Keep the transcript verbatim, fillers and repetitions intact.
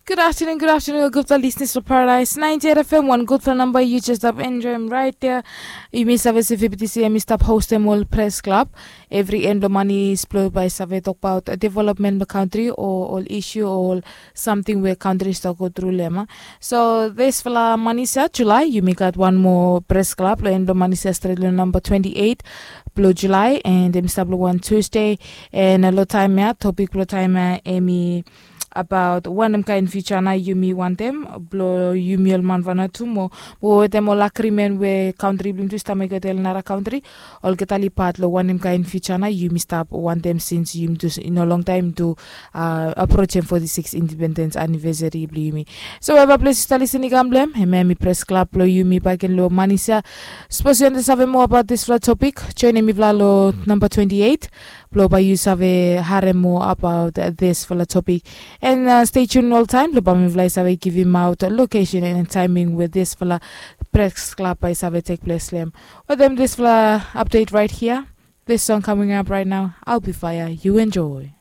Gud aftanun, gud aftanun ol gudfala lisnis blong Paradise ninety eight F M, wan gudfala namba yu jes stap enjoem raet ya. Yumi save se V B T C em i stap hostem ol pres klab evri en blong manis blong bae save tokbaot developmen blong kantri o ol isu o ol samting we kantri i stap go tru long em. So disfala manis ya, Julae, yumi gat wan moa pres klab long en blong manis ya stret long namba twenti eit blong Julae, en em i stap long wan Tusde. En long taem ya, topik blong taem ya em i abaot wanem kaen fiuja nao yumi wantem blong yumi ol man Vanuatu mo, mo wetem ol agrimen we kantri blong yumi tu i stap mekem wetem ol nara kantri, olgeta oli pat long wanem kaen fiuja nao yumi stap wantem, sins yumi tu i no longtaem tu aprojem foti sikis indipendens anivesari blong yumi. So weva ples yu stap lisin i kam blong em, hemia em i pres klab blong yumi bakegen long manis ya. Sapos yu wantem save moa abaot disfala topik, joenem mifala long namba twenti eit blong bae yu save harem moa abaot disfala topik. En stei tun oltaem blong bae mifala i save givimaot lokesen en taeming we disfala pres klab bae i save tekples long em. Wetem disfala apdet raet hia, this song coming up right now, I'll Be Fire. You enjoy.